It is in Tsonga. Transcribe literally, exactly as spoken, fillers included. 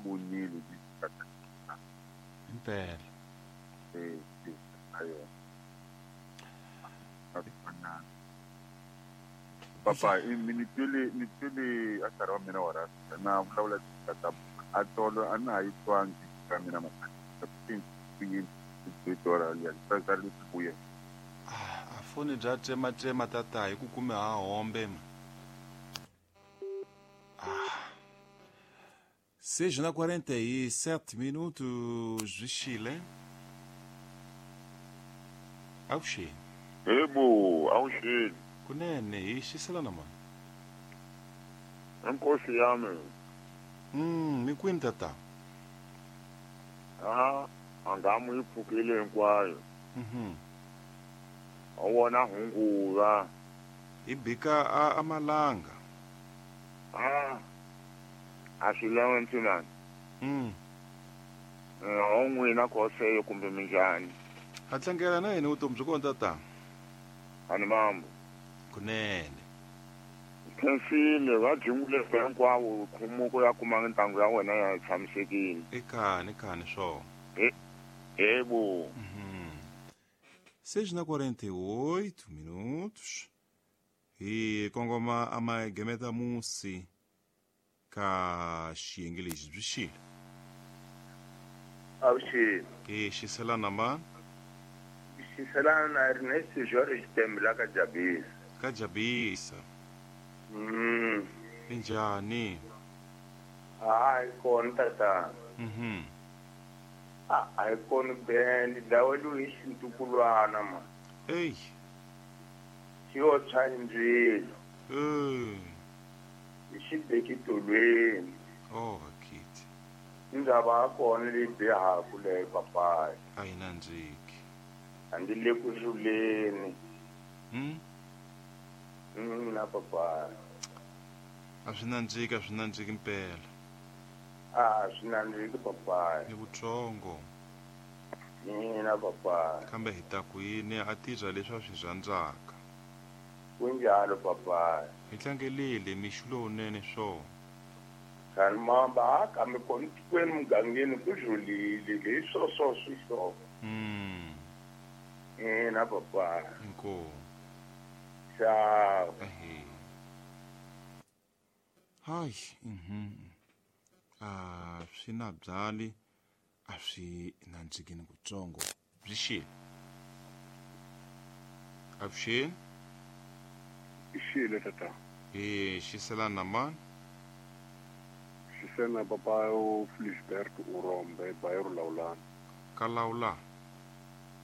vonile impela eh ayo papa ni twile ni twile a nkarhi wa mina wa rasa na vulavula tata a tolo a na ha yi twangi ka mina maaa a foni bya tsematsema tata hi ku kume ha hombe ma ah seis na quarenta e sete minutos de Chile. Avuxeni. Yebo, avuxeni. Kunene hi xiselana mani. Inkosi yami. Mm, mi kwini tata? Ah, angamu yi pfukile hinkwayo. Mhm. A wona hunguva. Hi bika a amalanga. Ah. A swi lawa ntsena. Mm. Eh, n'wina khoseyo kumbe minjhani? Ha tlangela na yini vutomi byi kona tata? Ani mambo. Kunene. Khensile va byingule hinkwavo khumuko ya kuma ntangu ya wena ya tshamisekile. Ekhani khani swo. Eh, yebo. Mhm. seis na quarenta e oito minutos. Hi kongoma amagemeta musi ka xiyenge lexi byi xile. Avuxeni. E xiselana ma? Xiselana na Ernest George Tembela ka Jabisa. Ka Jabisa. Mm. Minjhani? Hayi kona tata. Mhm. Ah, a hi kona band dawelu hi xintukulwana ma. Ey. Xi yo tshwa ndzilo. Eh. Hi xi bekitolweni. Oh, akiti. Ndzaba ya kona leyi bihaku leyi papayi. A yi nandziki. A ndzi le ku hluleni. Mm? Mm, na papayi. A swi nandziki, a swi nandziki mpela. A swi nandziki papayi. Ni vutsongo. Mina papayi. Kambe hi ta ku yini a tirha leswi a swi rhandzaka. Kunjalo papayi. Hi tlangelile mixo lowunene swo. Kani mamba kambe kona tikweni mugangeni ku dlulile leswo swo swi swo. Mm. Ina papayi. Inkomu. Ciao. Ehe. Hayi, mhm. A swi na byali a swi nandziki ni kutsongo. Byi xile. Avuxeni. Xile tata. Eh, xiselana mani? Xisena papa o Felisberto Urombe, bairro Laulana. Ka Laulana.